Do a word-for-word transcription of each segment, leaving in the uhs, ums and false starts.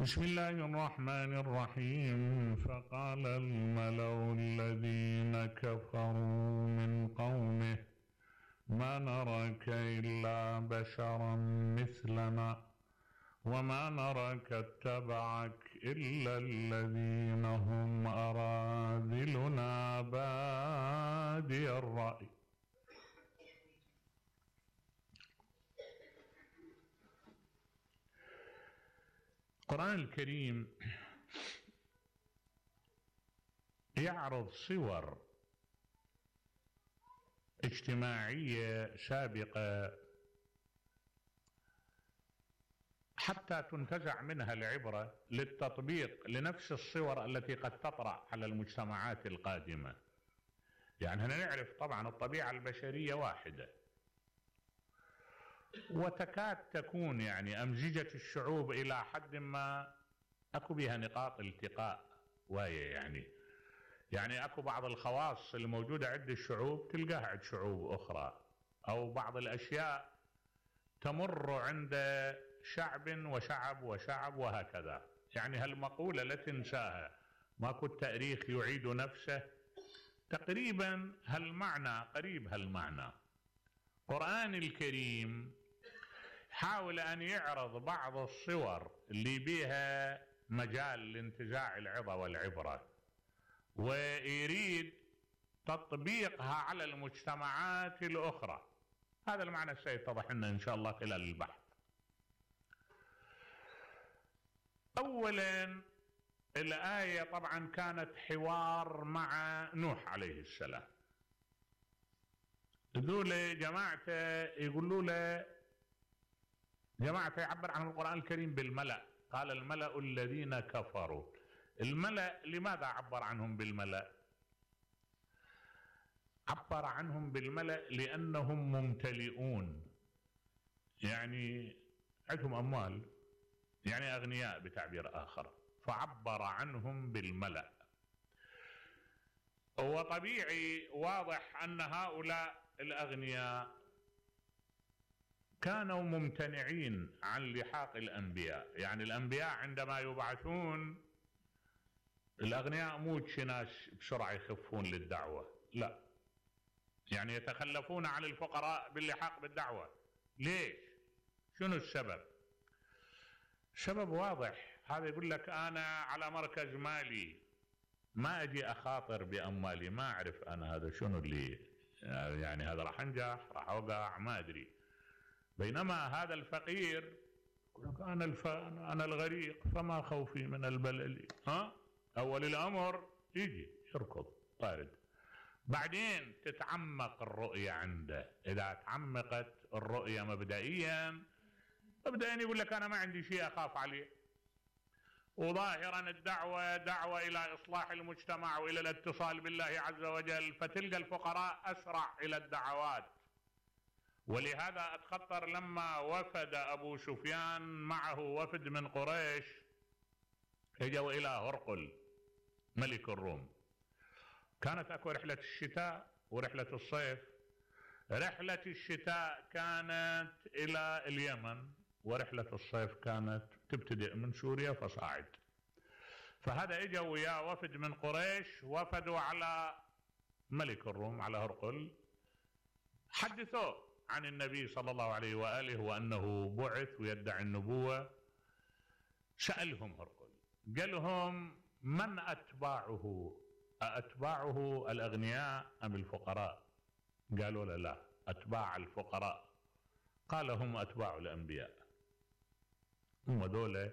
بسم الله الرحمن الرحيم. فقال الملأ الذين كفروا من قومه ما نراك إلا بشرا مثلنا وما نراك اتبعك إلا الذين هم أراذلنا بادي الرأي. القرآن الكريم يعرض صور اجتماعية سابقة حتى تنتزع منها العبرة للتطبيق لنفس الصور التي قد تطرأ على المجتمعات القادمة. يعني هنا نعرف طبعا الطبيعة البشرية واحدة، وتكاد تكون يعني أمزجة الشعوب إلى حد ما أكو بها نقاط التقاء وهي يعني يعني أكو بعض الخواص الموجودة عند الشعوب تلقاها عند شعوب أخرى، أو بعض الأشياء تمر عند شعب وشعب وشعب وهكذا. يعني هالمقولة لا تنساها، ماكو التاريخ يعيد نفسه، تقريبا هالمعنى قريب هالمعنى. القرآن الكريم حاول أن يعرض بعض الصور اللي بها مجال لانتزاع العظة والعبرة، ويريد تطبيقها على المجتمعات الأخرى. هذا المعنى سيتضح لنا إن شاء الله خلال البحث. أولا الآية طبعا كانت حوار مع نوح عليه السلام. ذول جماعته يقولوا له، جماعته يعبر عن القرآن الكريم بالملأ، قال الملأ الذين كفروا. الملأ لماذا عبر عنهم بالملأ؟ عبر عنهم بالملأ لأنهم ممتلئون، يعني عندهم أموال، يعني أغنياء بتعبير آخر، فعبر عنهم بالملأ. وطبيعي واضح أن هؤلاء الأغنياء كانوا ممتنعين عن لحاق الأنبياء. يعني الأنبياء عندما يبعثون، الأغنياء مو ناس بسرعة يخفون للدعوة، لا، يعني يتخلفون عن الفقراء باللحاق بالدعوة. ليش؟ شنو السبب؟ السبب واضح، هذا يقول لك أنا على مركز مالي، ما أجي أخاطر بأموالي، ما أعرف أنا هذا شنو اللي يعني هذا راح أنجح راح أوقع ما أدري. بينما هذا الفقير يقول لك أنا الف... أنا الغريق فما خوفي من البلل. ها؟ أول الأمر يجي يركض طارد، بعدين تتعمق الرؤية عنده. إذا تعمقت الرؤية مبدئيا مبدئيا يقول لك أنا ما عندي شيء أخاف عليه. وظاهرا الدعوة دعوة إلى إصلاح المجتمع وإلى الاتصال بالله عز وجل، فتلقى الفقراء أسرع إلى الدعوات. ولهذا أتخطر لما وفد أبو سفيان معه وفد من قريش، اجوا إلى هرقل ملك الروم. كانت أكو رحلة الشتاء ورحلة الصيف. رحلة الشتاء كانت إلى اليمن، ورحلة الصيف كانت تبتدئ من سوريا فصاعد. فهذا اجوا ويا وفد من قريش، وفدوا على ملك الروم على هرقل، حدثوه عن النبي صلى الله عليه وآله وأنه بعث ويدعي النبوة. سألهم هرقل، قال لهم من أتباعه؟ أتباعه الأغنياء أم الفقراء؟ قالوا له لا، أتباع الفقراء. قال هم أتباع الأنبياء، هم دولة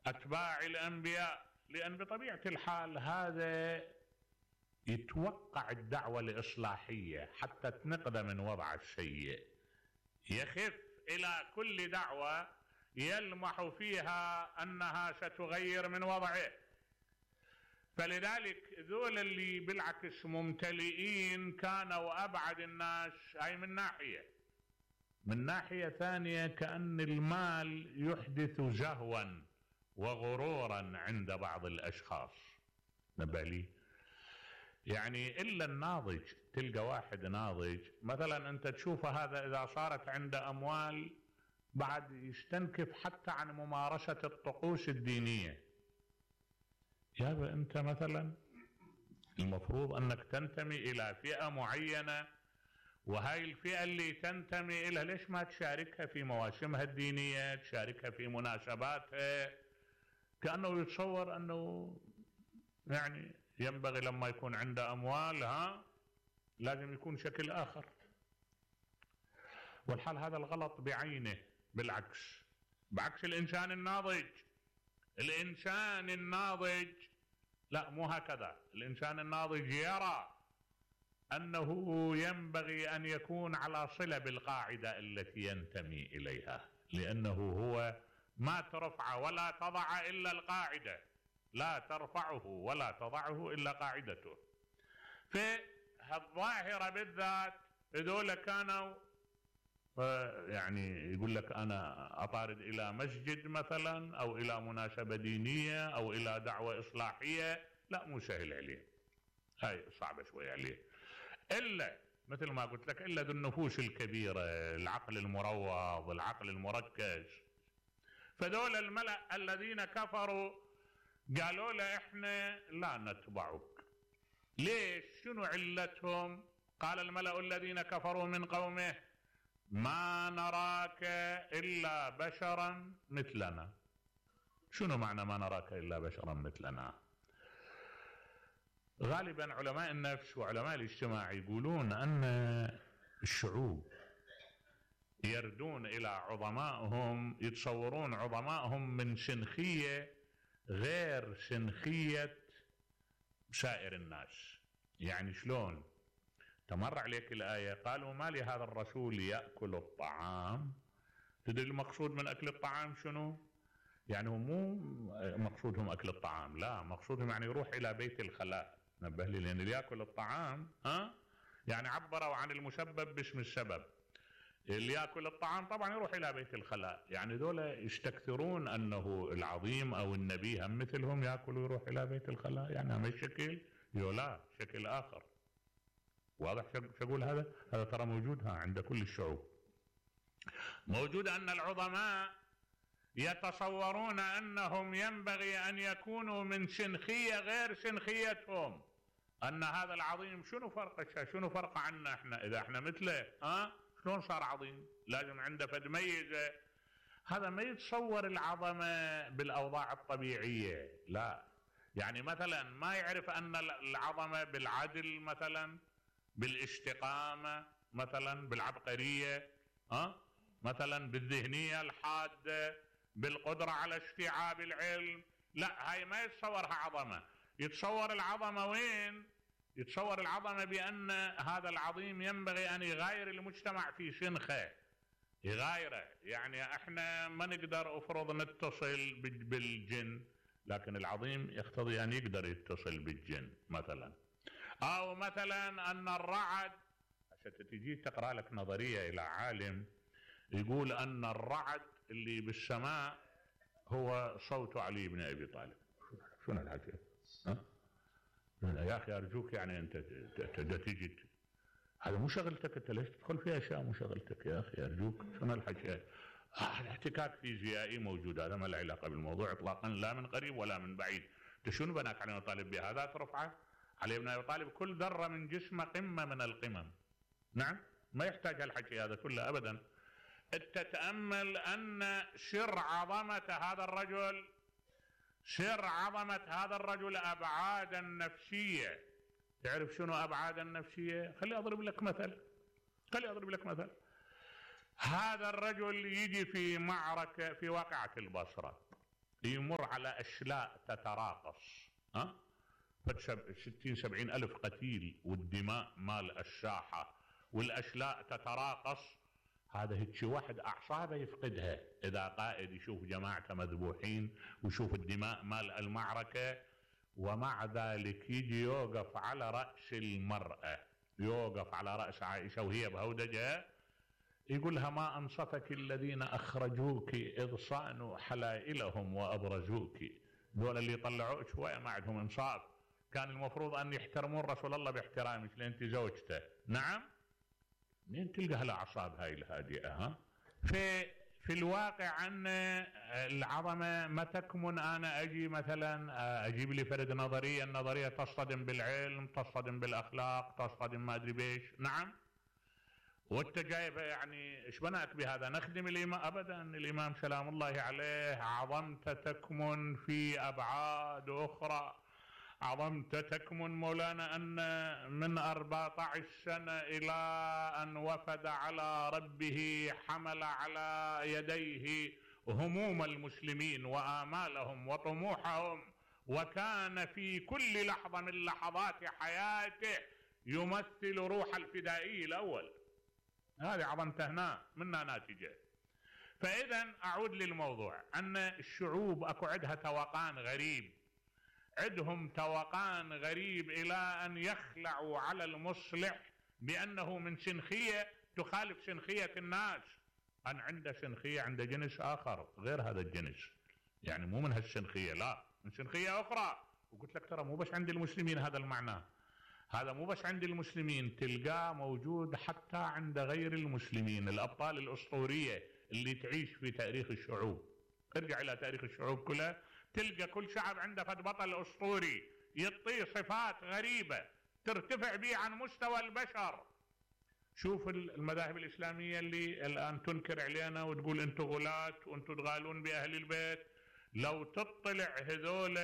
أتباع الأنبياء. لأن بطبيعة الحال هذا يتوقع الدعوة الإصلاحية حتى تنقذ من وضع السيء، يخف إلى كل دعوة يلمح فيها أنها ستغير من وضعه. فلذلك ذول اللي بالعكس ممتلئين كانوا أبعد الناس. هاي من ناحية. من ناحية ثانية كأن المال يحدث زهوا وغرورا عند بعض الأشخاص. نبالي يعني إلا الناضج، تلقى واحد ناضج مثلا أنت تشوفه هذا إذا صارت عنده أموال بعد يستنكف حتى عن ممارسة الطقوس الدينية. يابا انت مثلا المفروض انك تنتمي الى فئة معينة، وهاي الفئة اللي تنتمي الى ليش ما تشاركها في مواسمها الدينية، تشاركها في مناسباتها؟ كأنه يتصور انه يعني ينبغي لما يكون عنده اموال ها لازم يكون شكل اخر، والحال هذا الغلط بعينه. بالعكس، بعكس الانسان الناضج. الانسان الناضج لا مو هكذا، الانسان الناضج يرى انه ينبغي ان يكون على صلة بالقاعدة التي ينتمي اليها، لانه هو ما ترفع ولا تضع الا القاعدة، لا ترفعه ولا تضعه الا قاعدته. في هالظاهرة بالذات هذول كانوا يعني يقول لك انا اطارد الى مسجد مثلا او الى مناسبة دينية او الى دعوة اصلاحية، لا مو سهل عليه، هاي صعبة شوية عليه. الا مثل ما قلت لك الا ذو النفوس الكبيرة، العقل المروض، العقل المركز. فدول الملأ الذين كفروا قالوا له احنا لا نتبعك. ليش؟ شنو علتهم؟ قال الملأ الذين كفروا من قومه ما نراك إلا بشرا مثلنا. شنو معنى ما نراك إلا بشرا مثلنا؟ غالبا علماء النفس وعلماء الاجتماع يقولون أن الشعوب يردون إلى عظمائهم، يتصورون عظمائهم من سنخية غير سنخية سائر الناس. يعني شلون؟ تمر عليك الآية قالوا ما لهذا الرسول يأكل الطعام. تدري المقصود من أكل الطعام شنو؟ يعني مو مقصودهم أكل الطعام، لا مقصودهم يعني يروح إلى بيت الخلاء. نبه لي، لأن اللي يأكل الطعام ها يعني عبروا عن المسبب باسم السبب. اللي يأكل الطعام طبعا يروح إلى بيت الخلاء، يعني ذولا يستكثرون أنه العظيم أو النبي هم مثلهم يأكل ويروح إلى بيت الخلاء. يعني هم الشكل يولا شكل آخر. واضح شو اقول؟ هذا هذا ترى موجود عند كل الشعوب. موجود ان العظماء يتصورون انهم ينبغي ان يكونوا من سنخية غير سنخيتهم، ان هذا العظيم شنو فرقه شنو فرقه عنا احنا اذا احنا مثله؟ ها شلون صار عظيم؟ لازم عنده فد ميزه. هذا ما يتصور العظمه بالاوضاع الطبيعيه، لا. يعني مثلا ما يعرف ان العظمه بالعدل مثلا، بالاستقامة مثلا، بالعبقرية، ها مثلا بالذهنية الحادة، بالقدرة على استيعاب العلم. لا، هاي ما يتصورها عظمة. يتصور العظمة وين؟ يتصور العظمة بأن هذا العظيم ينبغي أن يغاير المجتمع في سنخه، يغايره. يعني احنا ما نقدر افرض نتصل بالجن، لكن العظيم يقتضي أن يقدر يتصل بالجن مثلا. أو مثلا أن الرعد، عشان تجي تقرأ لك نظرية إلى عالم يقول أن الرعد اللي بالسماء هو صوت علي بن أبي طالب. شنو الحكي؟ ها؟ يا أخي أرجوك، يعني أنت تجي هذا مو شغلتك، أنت ليش تدخل في أشياء مو شغلتك يا أخي أرجوك؟ شنو الحكي؟ احتكاك فيزيائي موجود، هذا ما له علاقة بالموضوع إطلاقا، لا من قريب ولا من بعيد. أنت شنو بناك علي بن طالب بهذا ترفعه؟ علي بن أبي طالب كل ذرة من جسمه قمة من القمم. نعم، ما يحتاج هالحكي هذا كله أبدا. تتأمل أن سر عظمة هذا الرجل، سر عظمة هذا الرجل أبعادا نفسية. تعرف شنو أبعادا نفسية؟ خلي أضرب لك مثل، خلي أضرب لك مثل. هذا الرجل يجي في معركة في واقعة البصرة، يمر على أشلاء تتراقص، ها؟ ستين سبعين ألف قتيل، والدماء مال الساحة، والأشلاء تتراقص. هذا هيك واحد أعصابه يفقدها إذا قائد يشوف جماعته مذبوحين ويشوف الدماء مال المعركة، ومع ذلك يجي يوقف على رأس المرأة، يوقف على رأس عائشة وهي بهودجة، يقولها ما أنصفك الذين أخرجوك إذ صانوا حلائلهم وأبرزوك. دول اللي يطلعوك شوية ما عندهم إنصاف، كان المفروض أن يحترمون رسول الله باحترامك لأنت زوجته. نعم، منين تلقى هالأعصاب هاي الهادئة؟ ها؟ في في الواقع أن العظمة ما تكمن أنا أجي مثلا أجيب لي فرد نظرية، النظرية تصطدم بالعلم، تصطدم بالأخلاق، تصطدم ما أدري بيش. نعم، وانت جايبها يعني ايش بناك بهذا؟ نخدم الإمام؟ أبدا، الإمام سلام الله عليه عظمت تكمن في أبعاد أخرى. عظمت تكمن مولانا أن من أربعة عشر سنة إلى أن وفد على ربه حمل على يديه هموم المسلمين وآمالهم وطموحهم، وكان في كل لحظة من لحظات حياته يمثل روح الفدائي الأول. هذه عظمته هنا منها ناتجة. فإذا أعود للموضوع، أن الشعوب أكو عندها توقان غريب، عندهم توقان غريب إلى أن يخلعوا على المصلح بأنه من سنخية تخالف سنخية الناس. أن عنده سنخية عند جنس آخر غير هذا الجنس، يعني مو من هالسنخية، لا، من سنخية أخرى. وقلت لك ترى مو بس عند المسلمين هذا المعنى، هذا مو بس عند المسلمين، تلقاه موجود حتى عند غير المسلمين. الأبطال الأسطورية اللي تعيش في تاريخ الشعوب، ارجع إلى تاريخ الشعوب كلها، تلقى كل شعب عنده فد بطل أسطوري يعطيه صفات غريبة ترتفع به عن مستوى البشر. شوف المذاهب الإسلامية اللي الآن تنكر علينا وتقول أنتم غلاة وأنتم تغالون بأهل البيت، لو تطلع هذول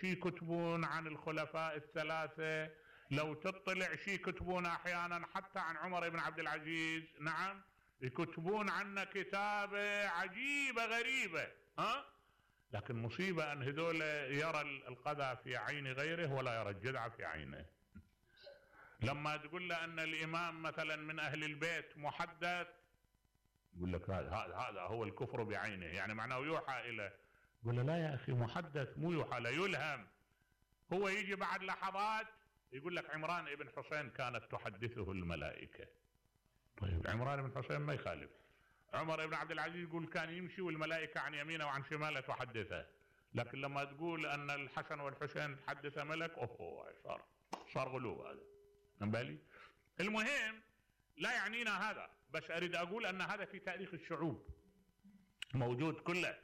شي يكتبون عن الخلفاء الثلاثة، لو تطلع شي يكتبون أحيانا حتى عن عمر بن عبد العزيز، نعم، يكتبون عنا كتابة عجيبة غريبة، ها؟ لكن مصيبة أن هذول يرى القذى في عين غيره ولا يرى الجدع في عينه. لما تقول له أن الإمام مثلا من أهل البيت محدث، يقول لك هذا هذا هو الكفر بعينه، يعني معناه يوحى إليه. يقول له لا يا أخي، محدث مو يوحى له، يلهم. هو يجي بعد لحظات يقول لك عمران ابن حسين كانت تحدثه الملائكة. طيب عمران ابن حسين ما يخالف. عمر بن عبد العزيز يقول كان يمشي والملائكة عن يمينه وعن شماله تحدثه. لكن لما تقول أن الحسن والحسين تحدث ملك، أوه صار صار غلو هذا. من بالي؟ المهم لا يعنينا هذا، بس أريد أقول أن هذا في تاريخ الشعوب موجود كله.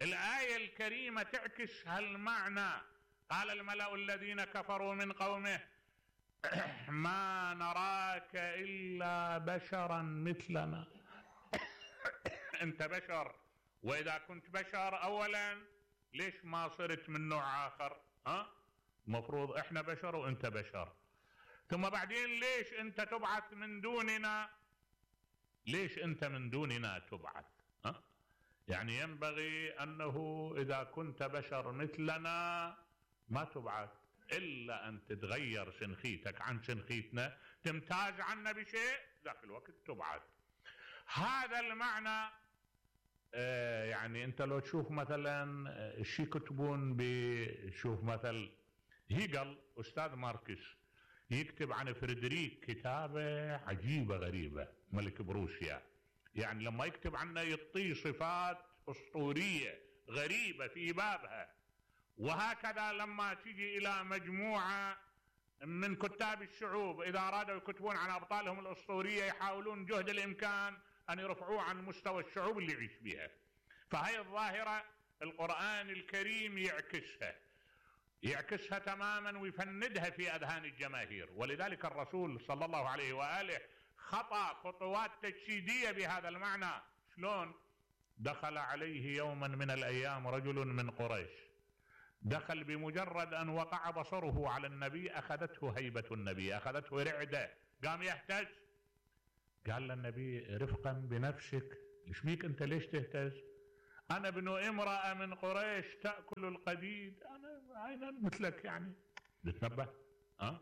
الآية الكريمة تعكس هالمعنى. قال الملأ الذين كفروا من قومه ما نراك إلا بشرا مثلنا. أنت بشر، وإذا كنت بشر أولا ليش ما صرت من نوع آخر؟ ها؟ مفروض إحنا بشر وأنت بشر. ثم بعدين ليش أنت تبعث من دوننا؟ ليش أنت من دوننا تبعث؟ ها؟ يعني ينبغي أنه إذا كنت بشر مثلنا ما تبعث، إلا أن تتغير سنخيتك عن سنخيتنا، تمتاز عنا بشيء، ذاك الوقت تبعث. هذا المعنى. آه يعني أنت لو تشوف مثلا الشي يكتبون، بشوف مثل هيجل أستاذ ماركس يكتب عن فريدريك كتابة عجيبة غريبة، ملك بروسيا، يعني لما يكتب عنه يعطيه صفات أسطورية غريبة في بابها. وهكذا لما تيجي إلى مجموعة من كتاب الشعوب إذا أرادوا يكتبون عن أبطالهم الأسطورية يحاولون جهد الإمكان أن يرفعوه عن مستوى الشعوب اللي يعيش بها. فهي الظاهرة القرآن الكريم يعكسها يعكسها تماما ويفندها في أذهان الجماهير. ولذلك الرسول صلى الله عليه وآله خطأ خطوات تجسيدية بهذا المعنى. شلون؟ دخل عليه يوما من الأيام رجل من قريش، دخل بمجرد أن وقع بصره على النبي أخذته هيبة النبي، أخذته رعدة، قام يهتز. قال للنبي رفقا بنفسك، ايش بيك أنت ليش تهتز؟ أنا ابن امرأة من قريش تأكل القديد، أنا عينا مثلك يعني. تتنبه؟ أه؟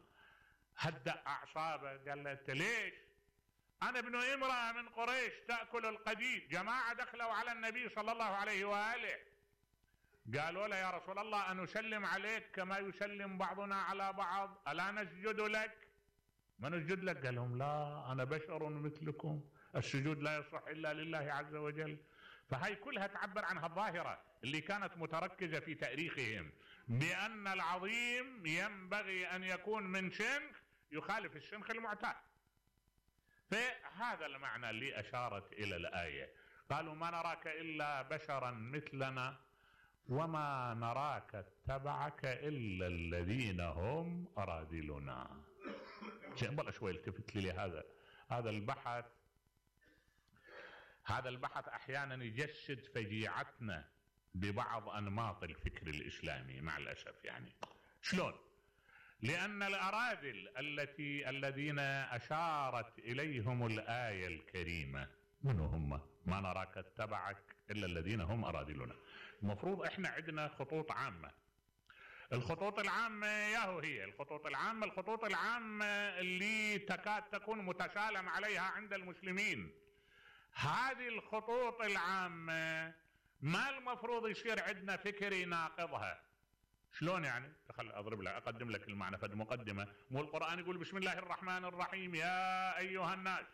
هدأ أعصابه. قال له أنت ليش؟ أنا ابن امرأة من قريش تأكل القديد. جماعة دخلوا على النبي صلى الله عليه وآله قالوا له يا رسول الله أن نسلم عليك كما يسلم بعضنا على بعض، ألا نسجد لك؟ ما نسجد لك؟ قال لهم لا، أنا بشر مثلكم، السجود لا يصح إلا لله عز وجل. فهي كلها تعبر عن هالظاهرة اللي كانت متركزة في تاريخهم، بأن العظيم ينبغي أن يكون من شنخ يخالف الشنخ المعتاد. فهذا المعنى اللي أشارت إلى الآية. قالوا ما نراك إلا بشرا مثلنا وما نراك اتبعك إلا الذين هم أراذلنا. بلا شوي التفت لي هذا هذا البحث هذا البحث أحيانا يجسد فجيعتنا ببعض أنماط الفكر الإسلامي مع الأسف. يعني شلون؟ لأن الأراذل التي الذين أشارت إليهم الآية الكريمة من هم؟ ما نراك اتبعك إلا الذين هم أراذلنا. المفروض إحنا عندنا خطوط عامة. الخطوط العامة ياهو هي الخطوط العامة الخطوط العامة اللي تكاد تكون متسالم عليها عند المسلمين. هذه الخطوط العامة ما المفروض يصير عندنا فكر يناقضها. شلون يعني؟ خل اضرب لك اقدم لك المعنى في المقدمه. مو القران يقول بسم الله الرحمن الرحيم يا ايها الناس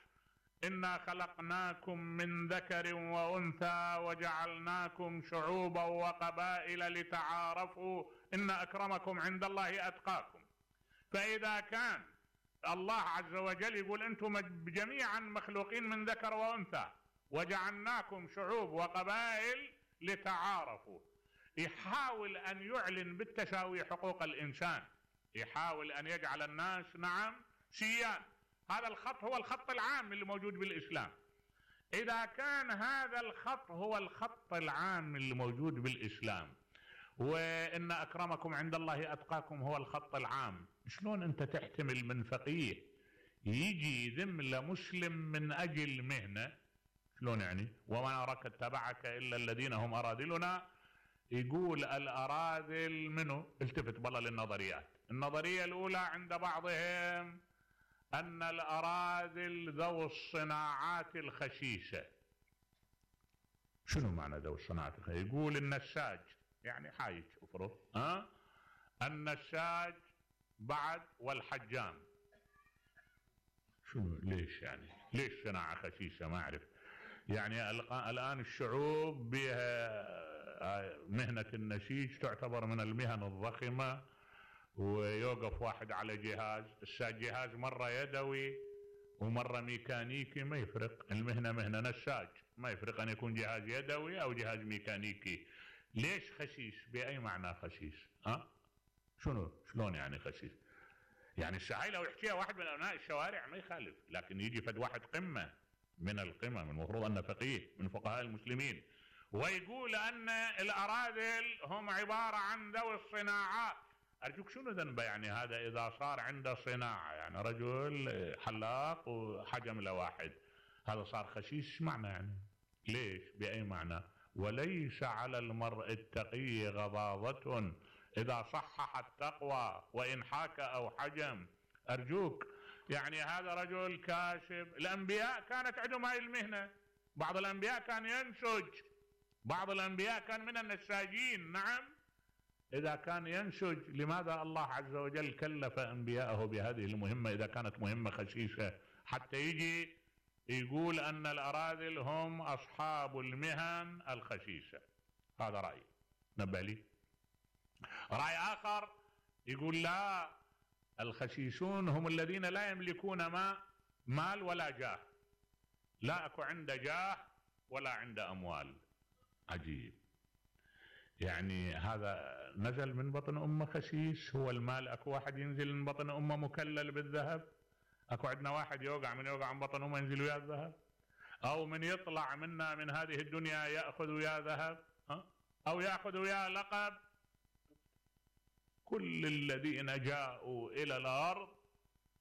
انا خلقناكم من ذكر وانثى وجعلناكم شعوبا وقبائل لتعارفوا ان اكرمكم عند الله اتقاكم. فاذا كان الله عز وجل يقول انتم جميعا مخلوقين من ذكر وانثى وجعلناكم شعوب وقبائل لتعارفوا، يحاول أن يعلن بالتساوي حقوق الإنسان، يحاول أن يجعل الناس نعم سيان. هذا الخط هو الخط العام اللي موجود بالإسلام. إذا كان هذا الخط هو الخط العام اللي موجود بالإسلام وإن أكرمكم عند الله أتقاكم هو الخط العام، شلون أنت تحتمل من فقيه يجي يذم لمسلم من أجل مهنة؟ شلون يعني؟ وما نراك اتبعك إلا الذين هم أراذلنا. يقول الأراذل منه؟ التفت بالله للنظريات. النظرية الأولى عند بعضهم أن الأراذل ذو الصناعات الخسيسة. شنو معنى ذو الصناعات الخسيسة؟ يقول النساج يعني حايج افرض ها النساج بعد والحجام. شنو ليش يعني؟ ليش صناعة خسيسة؟ ما أعرف. يعني الآن الشعوب بها مهنة النسيج تعتبر من المهن الضخمة، ويوقف واحد على جهاز، الجهاز مرة يدوي ومرة ميكانيكي ما يفرق، المهنة مهنة نساج ما يفرق أن يكون جهاز يدوي أو جهاز ميكانيكي. ليش خسيس؟ بأي معنى خسيس؟ ها؟ شنو؟ شلون يعني خسيس؟ يعني الساعي لو يحكيها واحد من أبناء الشوارع ما يخالف، لكن يجي فد واحد قمة من القمم المفروض أنه فقيه من فقهاء المسلمين ويقول أن الأراذل هم عبارة عن ذوي الصناعات. أرجوك شنو ذنبه يعني هذا إذا صار عنده صناعة؟ يعني رجل حلاق وحجم له واحد، هذا صار خسيس معنى يعني؟ ليش؟ بأي معنى؟ وليس على المرء التقي غضاضة إذا صحح التقوى وإن حاك أو حجم. أرجوك يعني هذا رجل كاشف. الأنبياء كانت عندهم هاي المهنة، بعض الأنبياء كان ينسج، بعض الأنبياء كان من النساجين. نعم، إذا كان ينسج لماذا الله عز وجل كلف أنبياءه بهذه المهمة إذا كانت مهمة خسيسة؟ حتى يجي يقول أن الأراذل هم أصحاب المهن الخسيسة. هذا رأي نبه لي. رأي آخر يقول لا، الخسيسون هم الذين لا يملكون ما مال ولا جاه، لا أكو عنده جاه ولا عنده أموال. عجيب، يعني هذا نزل من بطن أمه خسيس. هو المال أكو واحد ينزل من بطن أمه مكلل بالذهب؟ أكو عندنا واحد يوقع من يوقع من بطن أمه ينزل وياه الذهب؟ أو من يطلع منا من هذه الدنيا يأخذ وياه ذهب؟ أو يأخذ وياه لقب؟ كل الذين جاءوا إلى الأرض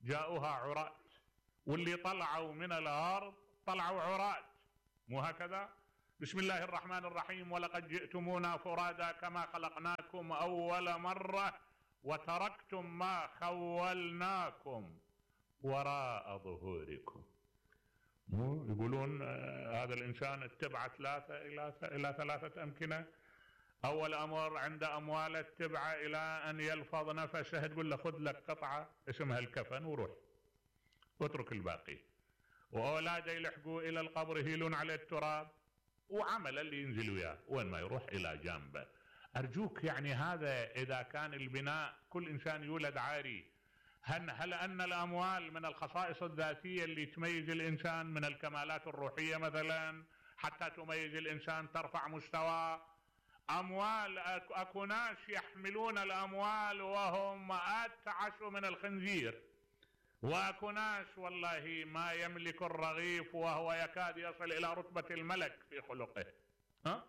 جاءوها عراة، واللي طلعوا من الأرض طلعوا عراة، مو هكذا؟ بسم الله الرحمن الرحيم ولقد جئتمونا فرادا كما خلقناكم أول مرة وتركتم ما خولناكم وراء ظهوركم. مو يقولون هذا الإنسان اتبع ثلاثة إلى إلى ثلاثة أمكنة. أول أمر عند أمواله اتبع إلى أن يلفظ نفسه، تقول له خذ لك قطعة اسمها الكفن وروح واترك الباقي. وأولاده يلحقوا إلى القبر يهيلون على التراب، وعمل اللي ينزل وياه وين ما يروح إلى جانبه. أرجوك يعني هذا إذا كان البناء كل إنسان يولد عاري، هل, هل أن الأموال من الخصائص الذاتية اللي تميز الإنسان من الكمالات الروحية مثلا؟ حتى تميز الإنسان ترفع مستواه. أموال، أكو ناس يحملون الأموال وهم أتعس من الخنزير، وأكو ناس والله ما يملك الرغيف وهو يكاد يصل إلى رتبة الملك في خلقه. ها؟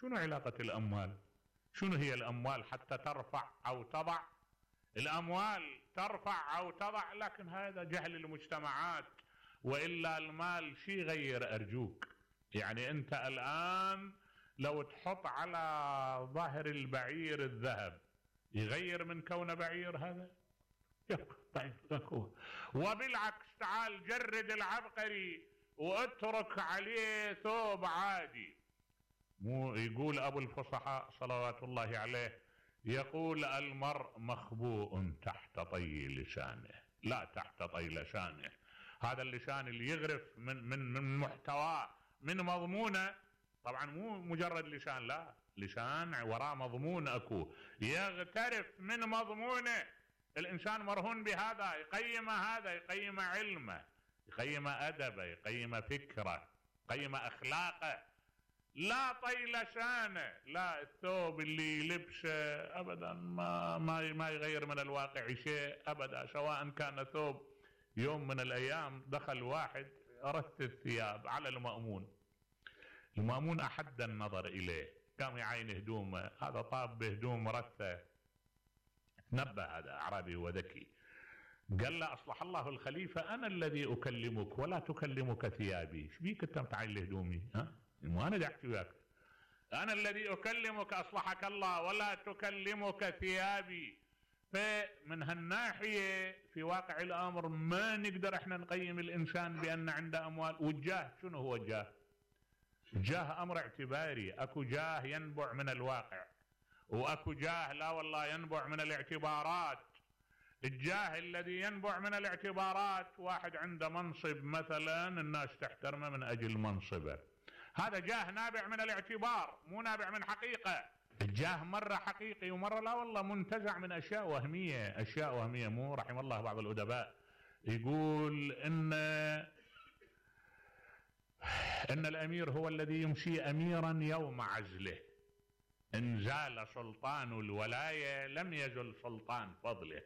شنو علاقة الأموال؟ شنو هي الأموال حتى ترفع أو تضع؟ الأموال ترفع أو تضع، لكن هذا جهل المجتمعات. وإلا المال شي غير أرجوك. يعني أنت الآن لو تحط على ظهر البعير الذهب يغير من كونه بعير؟ هذا وبالعكس تعال جرد العبقري واترك عليه ثوب عادي. مو يقول أبو الفصحاء صلوات الله عليه، يقول المرء مخبوء تحت طي لسانه لا تحت طي لسانه. هذا اللسان اللي يغرف من من من محتواه من مضمونه، طبعا مو مجرد لسان، لا، لسان وراه مضمون اكو، يغترف من مضمونه. الانسان مرهون بهذا، يقيم هذا، يقيم علمه، يقيم ادبه، يقيم فكره، يقيم اخلاقه. لا طي لسانه، لا الثوب اللي لبسه ابدا ما ما ما يغير من الواقع شيء ابدا، سواء كان ثوب. يوم من الايام دخل واحد رث الثياب على المأمون، المأمون احد النظر اليه، قام يعاين هدومه، هذا طاب بهدوم رثه. نبه هذا اعرابي وذكي، قال له اصلح الله الخليفه انا الذي اكلمك ولا تكلمك ثيابي، ايش بيك انت متعين لهدومي؟ ها؟ مو انا احكي وياك، انا الذي اكلمك اصلحك الله ولا تكلمك ثيابي. فمن هالناحيه في واقع الامر ما نقدر احنا نقيم الانسان بان عنده اموال. والجاه شنو هو الجاه؟ الجاه امر اعتباري، اكو جاه ينبع من الواقع، واكو جاه لا والله ينبع من الاعتبارات. الجاه الذي ينبع من الاعتبارات، واحد عنده منصب مثلا الناس تحترمه من اجل منصبه، هذا جاه نابع من الاعتبار مو نابع من حقيقة. الجاه مرة حقيقي ومرة لا والله منتزع من اشياء وهمية، اشياء وهمية. مو رحم الله بعض الادباء يقول ان ان الامير هو الذي يمشي اميرا يوم عزله، ان زال سلطان الولاية لم يزل سلطان فضله.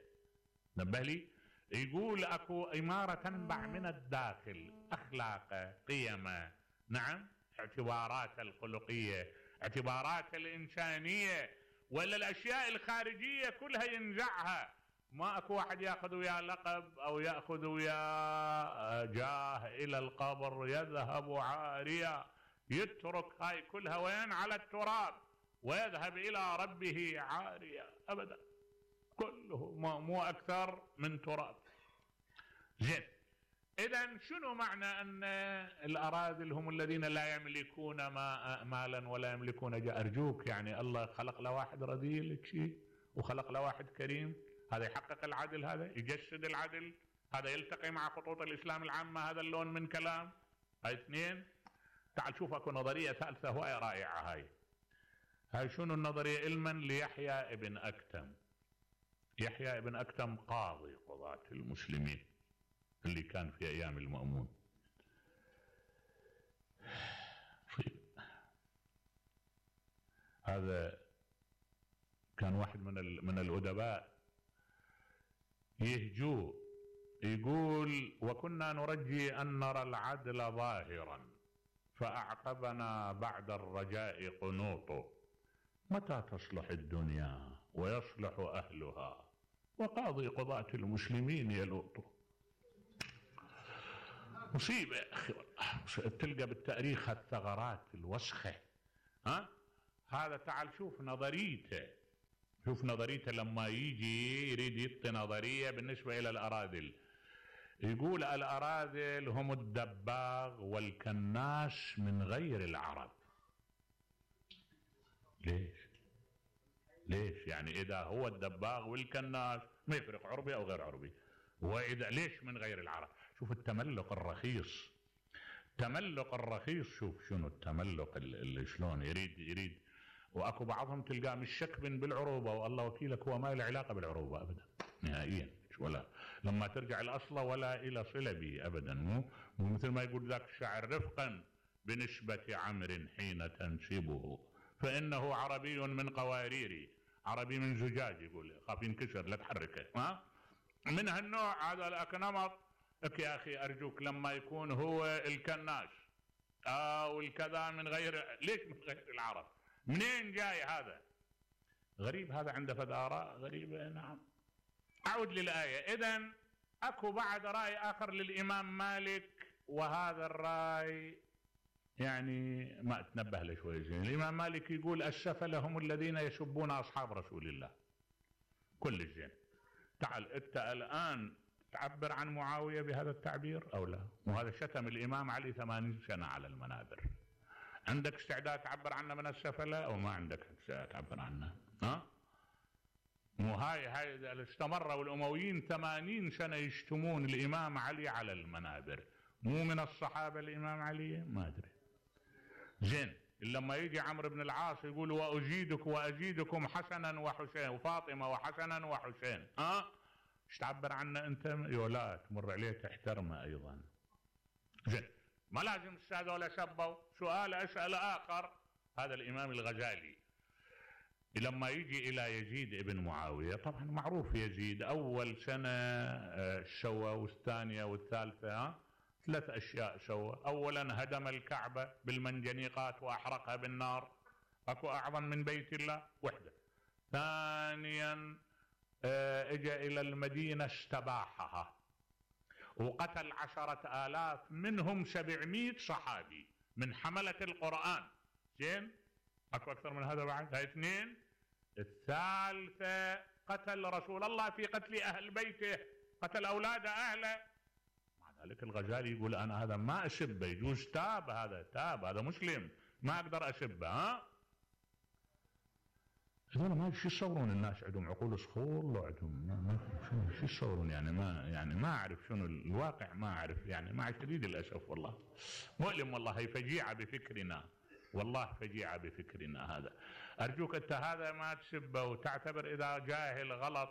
نبه لي، يقول اكو امارة تنبع من الداخل، اخلاقه، قيمه، نعم، اعتبارات الخلقية، اعتبارات الإنسانية، ولا الأشياء الخارجية كلها ينزعها. ما أكو واحد يأخذ وياه لقب أو يأخذ وياه جاه إلى القبر يذهب عاريا، يترك هاي كلها وين؟ على التراب، ويذهب إلى ربه عاريا أبدا، كله مو أكثر من تراب. زين، إذن شنو معنى أن الأراذل هم الذين لا يملكون ما مالا ولا يملكون جاه؟ أرجوك، يعني الله خلق له واحد رذيل شيء وخلق له واحد كريم، هذا يحقق العدل، هذا يجسد العدل، هذا يلتقي مع خطوط الإسلام العامة، هذا اللون من كلام. هاي اثنين. تعال شوف اكو نظرية ثالثة هواية رائعة. هاي هاي شنو النظرية؟ علما ليحيى ابن أكتم. يحيى ابن أكتم قاضي قضاة المسلمين اللي كان في أيام المأمون. هذا كان واحد من من الأدباء يهجوه، يقول: وكنا نرجي أن نرى العدل ظاهرا فأعقبنا بعد الرجاء قنوط، متى تصلح الدنيا ويصلح أهلها وقاضي قضاة المسلمين يلوط. مصيبة يا أخي والله، تلقى بالتاريخ الثغرات الوسخة. ها هذا تعال شوف نظريته، شوف نظريته لما يجي يريد يعطي نظرية بالنسبة إلى الأراذل. يقول: الأراذل هم الدباغ والكناس من غير العرب. ليش؟ ليش؟ يعني إذا هو الدباغ والكناس ما يفرق عربي أو غير عربي، وإذا ليش من غير العرب؟ شوف التملق الرخيص، التملق الرخيص. شوف شنو التملق اللي شلون يريد يريد واكو بعضهم تلقاه مشكبن بالعروبه، والله وكيلك هو ما له علاقه بالعروبه ابدا نهائيا، ولا لما ترجع الاصل ولا الى صله به ابدا. مو مو مثل ما يقول ذاك الشاعر: رفقا بنسبة عمر حين تنسبه، فإنه عربي من قواريري، عربي من زجاج، يقول خاف ينكسر لا تحركه. ها من هالنوع هذا الأكنمط. لك يا أخي أرجوك لما يكون هو الكناس أو الكذا من غير، ليش من غير العرب؟ منين جاي هذا؟ غريب هذا، عنده فد آراء غريبة. نعم. أعود للآية. إذن أكو بعد رأي آخر للإمام مالك، وهذا الرأي يعني ما أتنبه له شوي زين. الإمام مالك يقول السفلة هم الذين يسبون أصحاب رسول الله. كل زين. تعال أنت الآن تعبر عن معاوية بهذا التعبير أو لا؟ وهذا شتم الإمام علي ثمانين سنة على المنابر. عندك استعداد تعبر عنه من السفلة أو ما عندك استعداد تعبر عنه؟ ها؟ مو هاي هاي استمروا الأمويين ثمانين سنة يشتمون الإمام علي على المنابر. مو من الصحابة الإمام علي؟ ما أدري. زين لما يجي عمرو بن العاص يقول وأزيدك وأزيدكم حسنا وحسين وفاطمة وحسنا وحسين، ها؟ ايش تعبر عنه أنت؟ يولا تمر عليه تحترمه أيضا. زين ما لازم هذول سبوا. سؤال أسأل آخر. هذا الإمام الغزالي لما يجي إلى يزيد ابن معاوية، طبعا معروف يزيد أول سنة سوى والثانية والثالثة ثلاث أشياء سوى. أولا هدم الكعبة بالمنجنيقات وأحرقها بالنار، أكو أعظم من بيت الله؟ وحدة. ثانيا اجى إلى المدينة استباحها وقتل عشرة آلاف منهم سبعمائة صحابي من حملة القرآن. زين أكو أكثر من هذا بعد؟ هاي اثنين. الثالثة قتل رسول الله في قتل أهل بيته، قتل أولاد أهله. مع ذلك الغزالي يقول أنا هذا ما أسبه، يجوز تاب، هذا تاب، هذا مسلم، ما أقدر أسبه. ها هذول ما شو يصورون؟ الناس عندهم عقول صخور لو عندهم شو شو يصورون يعني؟ ما يعني ما أعرف شنو الواقع، ما أعرف يعني، مع شديد الأسف والله مؤلم والله. هي فجيعة بفكرنا والله، فجيعة بفكرنا. هذا أرجوك أنت هذا ما تسبه وتعتبر إذا جاهل غلط.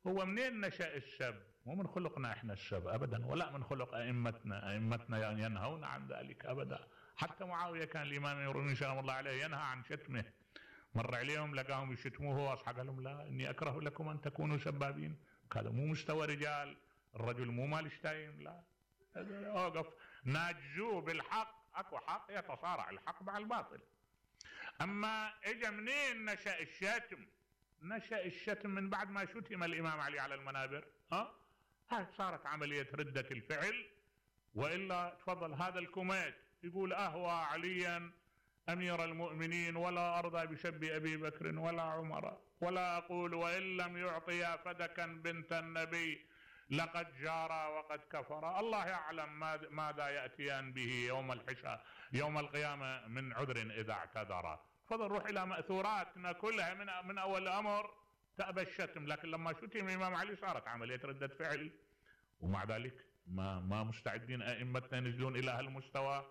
هو منين نشأ السب؟ مو من خلقنا إحنا السب أبدا، ولا من خلق أئمتنا. أئمتنا ينهون عن ذلك أبدا. حتى معاوية كان الإمام يرون سلام الله عليه ينهى عن شتمه. مر عليهم لقاهم يشتموه وأصحاب قال لهم لا إني أكره لكم أن تكونوا سبابين. هذا مو مستوى رجال، الرجل مو مال شتايم. لا أوقف ناجزوه بالحق. أكو حق يتصارع الحق مع الباطل. أما إجا منين نشأ الشتم؟ نشأ الشتم من بعد ما شتم الإمام علي على المنابر. ها هاي صارت عملية ردة الفعل. وإلا تفضل هذا الكوميت يقول أهوى عليا أمير المؤمنين ولا أرضى بسب أبي بكر ولا عمر، ولا أقول وإن لم يعطي فدكا بنت النبي لقد جارا وقد كفر. الله يعلم ماذا يأتيان به يوم الحساب يوم القيامة من عذر إذا اعتذر. فضل روح إلى مأثوراتنا كلها من من أول الأمر تأبى الشتم. لكن لما شتم الإمام علي صارت عملية ردة فعل. ومع ذلك ما ما مستعدين أئمتنا ينزلون إلى هالمستوى.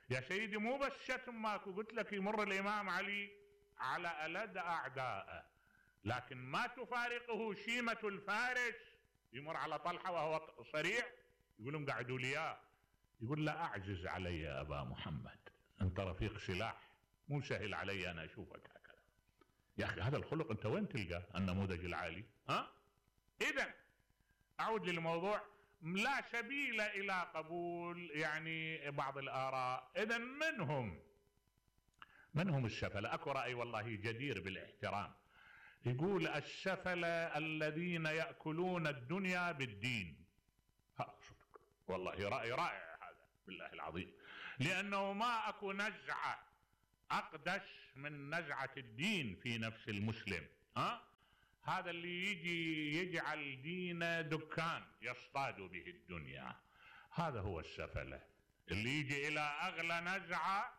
يا سيدي مو بس شتم ماكو، قلت لك يمر الإمام علي على ألد أعدائه لكن ما تفارقه شيمة الفارس. يمر على طلحة وهو صريع يقول لهم قعدوا لي، يقول لا أعجز علي يا أبا محمد، أنت رفيق سلاح، مو سهل علي أنا أشوفك هكذا. يا أخي هذا الخلق أنت وين تلقى النموذج العالي؟ ها؟ إذن أعود للموضوع. لا سبيل إلى قبول يعني بعض الآراء. إذن منهم منهم السفلة. أكو رأي والله جدير بالاحترام يقول السفلة الذين يأكلون الدنيا بالدين. ها صدق والله رأي رائع هذا بالله العظيم، لأنه ما أكو نزعة أقدس من نزعة الدين في نفس المسلم. ها هذا اللي يجي يجعل دينه دكان يصطاد به الدنيا، هذا هو السفلة. اللي يجي إلى أغلى نزعة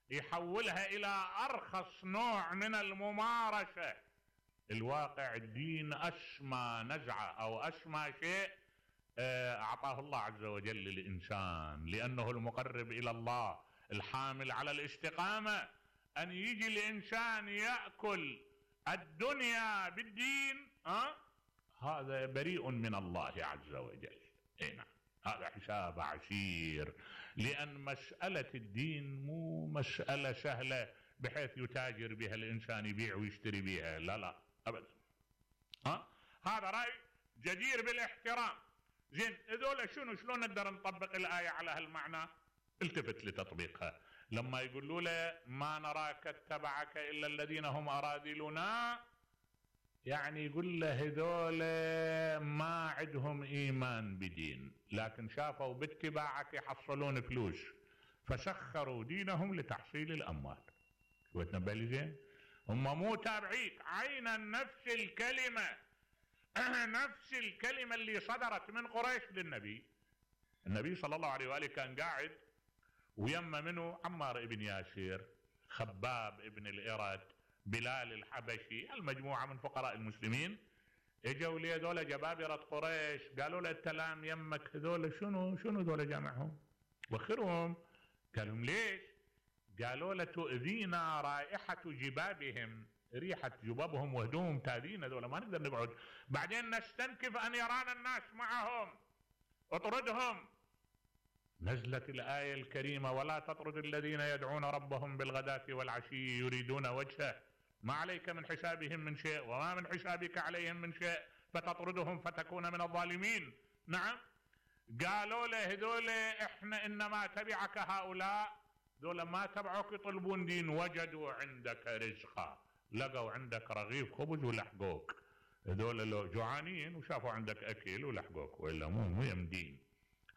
يحولها إلى أرخص نوع من الممارسة. الواقع الدين أسمى نزعة أو أسمى شيء أعطاه الله عز وجل للإنسان، لأنه المقرب إلى الله الحامل على الاستقامة. أن يجي الإنسان يأكل الدنيا بالدين، أه؟ هذا بريء من الله عز وجل. اي نعم هذا حساب عسير. لأن مسألة الدين مو مسألة سهلة بحيث يتاجر بها الإنسان، يبيع ويشتري بها، لا لا أبدا. ها هذا رأي جدير بالاحترام. زين هذول شنو شلون نقدر نطبق الآية على هالمعنى؟ التفت لتطبيقها. لما يقولوا له ما نراك اتبعك إلا الذين هم أراذلنا، يعني يقول له هذول ما عندهم إيمان بدين، لكن شافوا باتباعك يحصلون فلوس فسخروا دينهم لتحصيل الأموال. شو تنبه لي زين؟ هم مو تابعيك عينا. نفس الكلمة نفس الكلمة اللي صدرت من قريش للنبي. النبي صلى الله عليه وآله كان قاعد ويما منه عمار ابن ياسر، خباب ابن الإرد، بلال الحبشي، المجموعة من فقراء المسلمين. اجوا لي هذول جبابرة قريش قالوا له التلام يمك هذول شنو شنو هذول جامعهم وخرهم؟ قالوا ليش؟ قالوا له تؤذينا رائحة جبابهم، ريحة جبابهم وهدومهم تأذينا، هذول ما نقدر نقعد، بعدين نستنكف أن يرانا الناس معهم، اطردهم. نزلت الآية الكريمة ولا تطرد الذين يدعون ربهم بالغداة والعشي يريدون وجهه ما عليك من حسابهم من شيء وما من حسابك عليهم من شيء فتطردهم فتكون من الظالمين. نعم قالوا له هذول احنا انما تبعك هؤلاء، ذول ما تبعوك يطلبون دين، وجدوا عندك رزقا، لقوا عندك رغيف خبز ولحقوك. هذول لو جوعانين وشافوا عندك اكل ولحقوك، والا مو مو يمدين.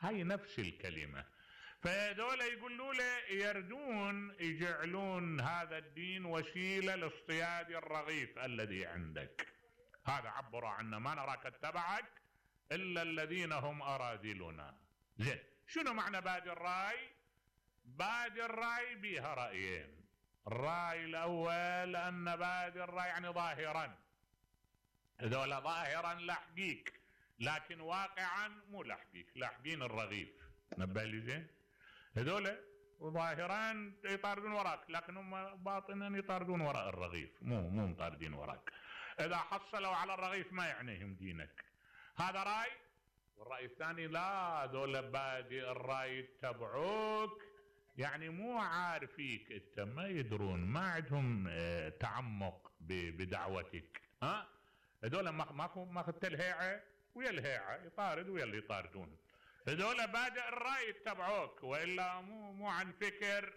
هاي نفس الكلمة. فهذول يقولوا له يردون يجعلون هذا الدين وسيلة لاصطياد الرغيف الذي عندك. هذا عبروا عنه ما نراك اتبعك إلا الذين هم أراذلنا. زين شنو معنى بادي الراي؟ بادي الراي بها رأيين. الرأي الأول أن بادي الراي يعني ظاهرا، هذول ظاهرا لاحقيك لكن واقعا مو لاحقيك، لاحقين الرغيف. نبه لي زين؟ هذول ظاهرا يطاردون وراك لكن هم باطنا يطاردون وراء الرغيف، مو مو مطاردين وراك. اذا حصلوا على الرغيف ما يعنيهم دينك. هذا راي. والراي الثاني لا، هذول بادي الراي يتبعوك يعني مو عارفيك انت، ما يدرون، ما عندهم اه تعمق بدعوتك. ها هذول ما ماكو ماخذ الهيعه ويا الهيعه، يطارد ويا اللي يطاردون. هذول بادئ الرأي يتبعوك، وإلا مو مو عن فكر،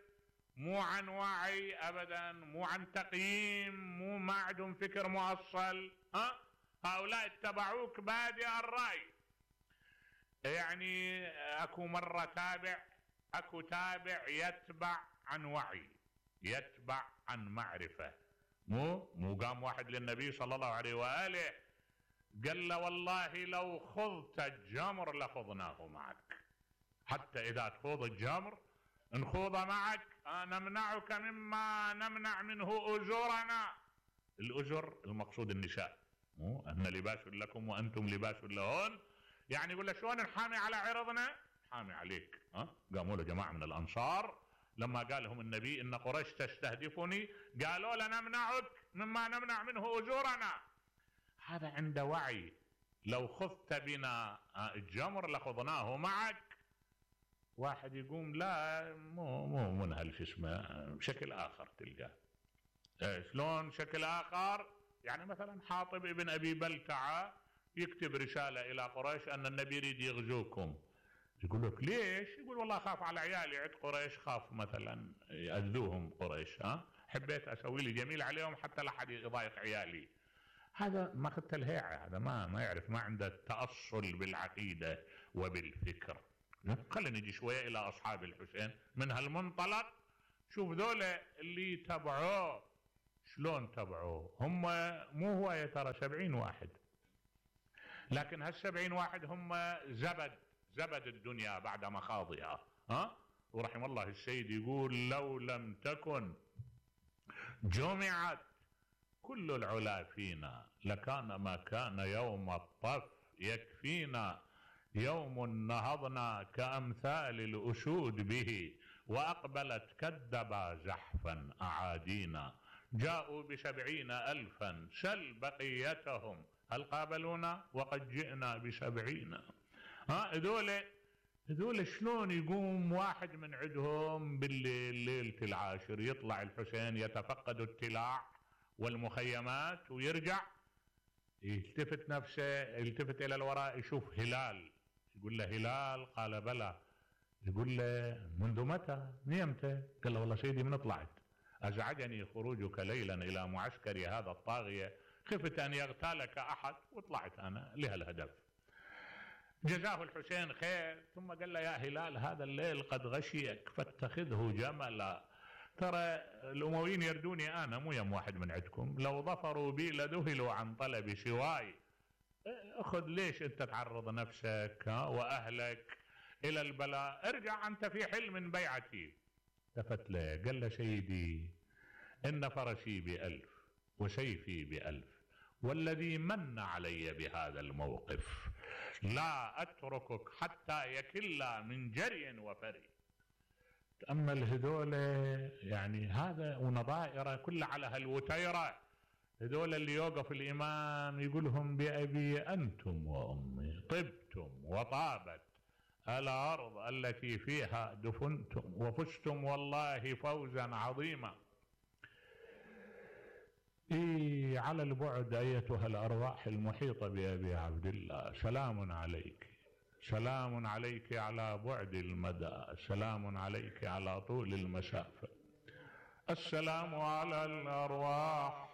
مو عن وعي أبدا، مو عن تقييم، مو ما عندهم فكر مؤصل. ها هؤلاء اتبعوك بادئ الرأي. يعني أكو مرة تابع، أكو تابع يتبع عن وعي، يتبع عن معرفة. مو مو قام واحد للنبي صلى الله عليه وآله قال له والله لو خضت الجمر لخضناه معك، حتى إذا تخوض الجمر نخوض معك، نمنعك مما نمنع منه أجورنا. الأجر المقصود النساء، مو أن لباس لكم وأنتم لباس لهن. يعني يقول له شلون نحامي على عرضنا؟ نحامي عليك. ها قاموا له جماعة من الأنصار لما قال لهم النبي إن قريش تستهدفني، قالوا له نمنعك مما نمنع منه أجورنا. هذا عنده وعي. لو خذت بنا الجمر لخضناه معك. واحد يقوم لا مو مو من هالش اسمه بشكل آخر تلقاه. شلون شكل آخر؟ يعني مثلا حاطب ابن أبي بلتعة يكتب رسالة إلى قريش أن النبي يريد يغزوكم. يقول لك ليش؟ يقول والله خاف على عيالي عند قريش، خاف مثلا يأذوهم قريش، ها حبيت أسوي لي جميل عليهم حتى لا أحد يضايق عيالي. هذا ما اخذت الهيعة، هذا ما ما يعرف، ما عنده تأصل بالعقيدة وبالفكر. خلينا نجي شوية إلى أصحاب الحسين من هالمنطلق. شوف ذولا اللي تبعوه شلون تبعوه. هم مو هو ترى سبعين واحد، لكن هالسبعين واحد هم زبد زبد الدنيا بعد مخاضها. ها ورحم الله السيد يقول لو لم تكن جمعت كل العلا فينا لكان ما كان يوم الطف يكفينا. يوم نهضنا كأمثال الأسود به وأقبلت كالدبا زحفا أعادينا. جاءوا بسبعين ألفا سل بقيتهم هل قابلونا وقد جئنا بسبعين. ها هذول هذول شلون يقوم واحد من عندهم بالليل ليلة العاشر يطلع الحسين يتفقد التلاع والمخيمات ويرجع يلتفت نفسه يلتفت إلى الوراء يشوف هلال، يقول له هلال؟ قال بلى. يقول له منذ متى؟ نيمتى؟ قال له والله سيدي من طلعت، أزعجني خروجك ليلا إلى معسكر هذا الطاغية، خفت أن يغتالك أحد وطلعت أنا لهالهدف. جزاه الحسين خير، ثم قال له يا هلال هذا الليل قد غشيك فاتخذه جملا، ترى الأمويين يردوني أنا مو يم واحد من عندكم، لو ظفروا بي لذهلوا عن طلب سواي، أخذ ليش أنت تعرض نفسك وأهلك إلى البلاء، ارجع أنت في حل من بيعتي. التفت له قال له سيدي إن فرسي بألف وسيفي بألف، والذي من علي بهذا الموقف لا أتركك حتى يكل من جري وفري. تأمل هذول يعني هذا ونظائره كلها على هالوتيرة، هذول اللي يوقف الإمام يقولهم بأبي أنتم وأمي طبتم وطابت الأرض التي فيها دفنتم وفزتم والله فوزا عظيما. إيه على البعد أيتها الأرواح المحيطة بأبي عبد الله، سلام عليك، سلام عليك على بعد المدى، سلام عليك على طول المسافة، السلام على الأرواح